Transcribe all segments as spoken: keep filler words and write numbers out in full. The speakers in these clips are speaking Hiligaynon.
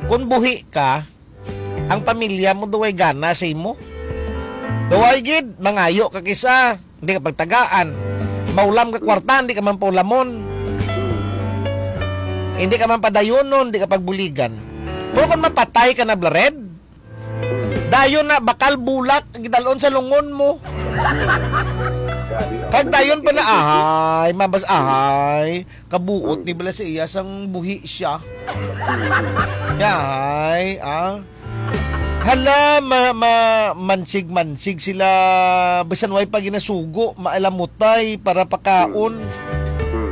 Kung buhi ka, ang pamilya mo duway gana sa imo. Duway gid, mangayo ka kisa, hindi ka pagtagaan. Maulam ka kwarta, hindi ka man paulamon. Hindi ka man padayonon, hindi ka pagbuligan. Pero kung mapatay ka na, Blared, dayon na, bakal bulak, gidalon sa lungon mo. Kag dayon pa na, ahay, mabas, ahay. Kabuot ni bala sa iya sang buhi siya. Yahay, ah. Hala, ma, ma, mansig-mansig sila. Bisan way pa ginasugo, maalamutay para pakaon.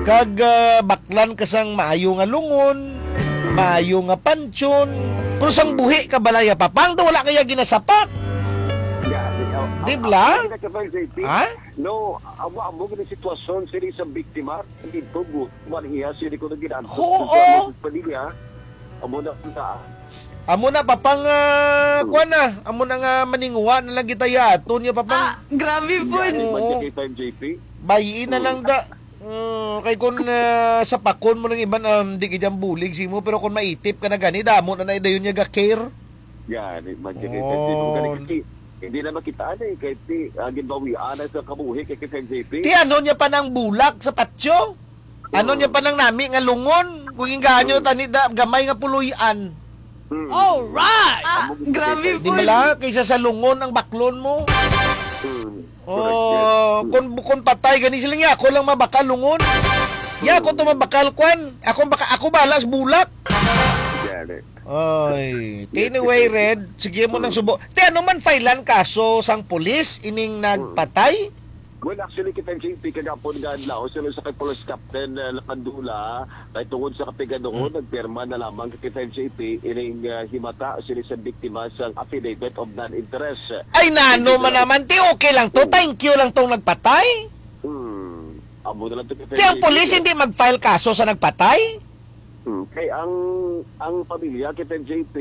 Kag, ah, baklan ka sang maayo nga lungon, maayo nga pansyon. Pero sang buhi ka balaya, papang, daw wala kaya ginasapak. Di bala? Ha? No, amo, amo gini sitwasyon sini sa biktima. Dito, bu-, man iya, sini ko naging antok Oo. Sa pamilya. Amo na punta. Amo na, papang, ah, Hmm. kuwan na. Amo na nga maningwa na lang kita ya. Ato niya, papang. Ah, grabe po. Yan, Oo. Man siya kay five J P. Bayiin na Hmm. lang da. Mm, kay kun, ah, sapakon mo ng iban, um, di ka dyan bulig si mo, pero kung maitip ka na gani, damo na na dayon niya ga-care. Gani, man siya kay Oh. Fred. Gani kasi, hindi na makitaan eh. Kay ti, ah, ginbawian na sa kabuhi kay, kay Fred J P. Ti ano niya pa nang bulak sa patyo? Ano Hmm. niya pa nang nami nga lungon? Kung ingahan niyo Hmm. tani da, gamay nga puloy-an. Hmm. Alright! Ah, Amo gid grabe kay po. Di bala? Kaysa sa lungon ang baklon mo. Hmm. Oh, Correct, yes. Hmm. Kung, kung patay, gani sila niya, ako lang mabakal lungon. Ya, ako to Hmm. mabakal, kwan. Ako baka, ako bahala sa bulak. Gani. Ay, Yes, anyway, yes. Red, sige mo nang Hmm. subo. Te, ano man filean kaso sang pulis ining Hmm. nagpatay? Well, actually, kita J P kagapon nga adlaw, sila sa kay Police Captain, uh, Lakandula, kay tungod sa kapigaduhon, Hmm. nagpirma na lamang kita J P ining, uh, himata sila sa biktima sang affidavit of non-interest. Ay, nano Hindi man na naman, ti, okay lang to. Hmm. Thank you lang tong nagpatay. Hmm. Amo na lang to kita Kaya ang J P, pulis no? Hindi mag-file kaso sa nagpatay? Hmm, kay ang, ang pamilya kita, J P,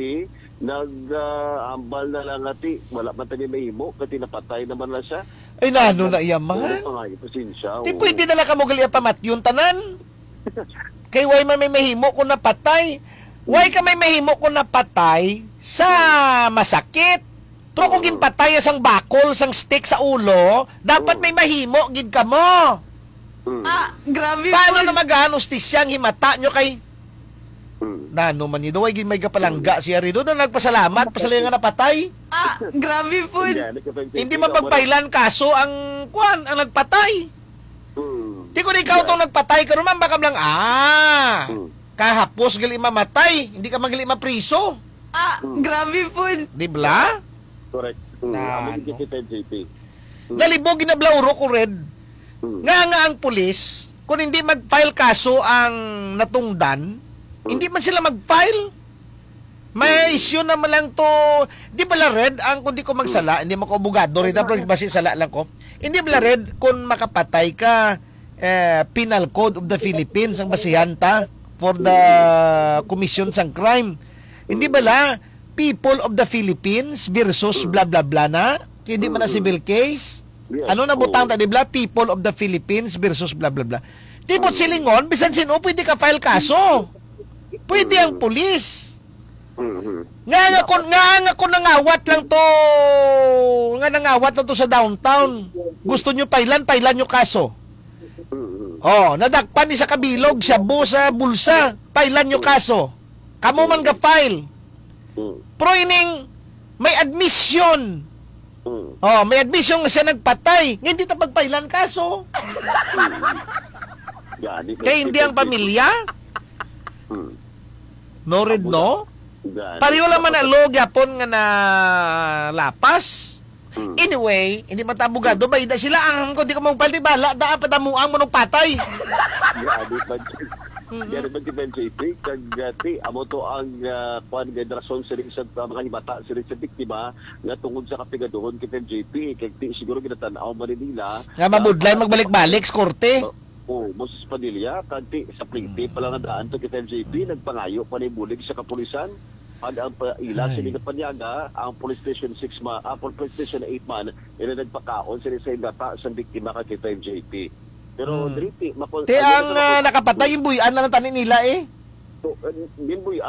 nag, ah, hambal na lang nga ti, wala man tani mahimo, kay ti napatay naman na siya. Ay, nano na iya man? Puro pa nga, pasensya, Ti oo. Pwede na lang ka mo gali pamatyon tanan. Kay why man may mahimo kung napatay? Why ka may mahimo kung napatay sa masakit? Pero kung Mm. ginpatay sang bakol, sang stick sa ulo, dapat Mm. may mahimo gid kamo. Mm. Ah, grabe Paano po. Na magaan ustisya ang himata nyo kay Mm. Nano man ni, daw ay gid may gapalangga siya ri. Doon na nagpasalamat, pasalamat nga napatay. Ah, grabe po. Hindi, ano ka pa yung Hindi thinking, mapagpailan kaso ang, kwan, ang nagpatay. Mm. Di ko na ikaw Yeah. tong nagpatay, karon man baka lang, ah, Mm. kahapos gali mamatay, hindi ka man gali mapriso. Ah, Mm. grabe po. Di bla? Correct. Mm. Na, Amo ano? Gid kita, J P. Mm. Nalibog, ginablauro ko, Red. Mm. Nga, nga ang pulis, kung hindi mag-file kaso ang natungdan, Mm. hindi man sila mag-file. May Mm. issue naman lang to. Di bala, Red, ang kung di ko magsala, Mm. hindi man ko abogado, Red, ah, pero basi sala lang ko. Hindi bala, Red, kung makapatay ka, eh, Penal Code of the Philippines ang basihan ta for the commission sang crime. Hindi bala, People of the Philippines versus blah, blah, blah na? Hindi man na civil case? Yes. Ano na butang Oo. ta, di bala? People of the Philippines versus blah, blah, blah. Di po Mm. silingon, bisan sino pwede ka file kaso. Pwede ang Mm. pulis. Mhm. Nga, nga Dapat kun, nga, nga kun nangawat lang to, nga nangawat lang to sa downtown. Gusto nyo pailan, pailan nyo kaso. Mhm. Oh, nadakpan ni sa kabilog, shabu sa bulsa, pailan nyo kaso. Kamo man ga-file. Mhm. Pero ining may admission. Mhm. Oh, may admission nga siya nagpatay. Nga hindi ta pagpailan kaso. Mhm. Gani, Kay hindi ang pamilya? Mhm. No, Red, Amo no? na. Gani. Pareho lang man na law gyapon nga na lapas. Hmm. Anyway, hindi man ta abogado, Hmm. bayda sila ang ko di ko magpaldi bala da ang padamuang manong patay. Grabe man. Mm-mm. Grabe man si Ben J P, kag, ah, ti, amo to ang, ah, kuwan nga rason sa rin sa, ah, mga himata sa rin sa biktima nga tungod sa kapigaduhon kay Ben J P, kag ti, siguro ginatan-aw man ni nila Nga mabudlay na magbalik-balik sa korte. Oh, Moses Padilla, kanti sa pliti Hmm. pa lang nadaan to kita M J P, nagpangayo pa ni bulig sa kapulisan. Ang, ang pa, ila Ay. sini nga panyaga, ang Police Station six ma-, ah, Police Station eight man, ila nagpakaon sila sa himata sang biktima kag kita M J P. Pero Hmm. diri ti, makon-, Ti ano ang, na ah, makon-, nakapatay, yung buy-an na lang tani nila eh. So, uh, ginbuy-an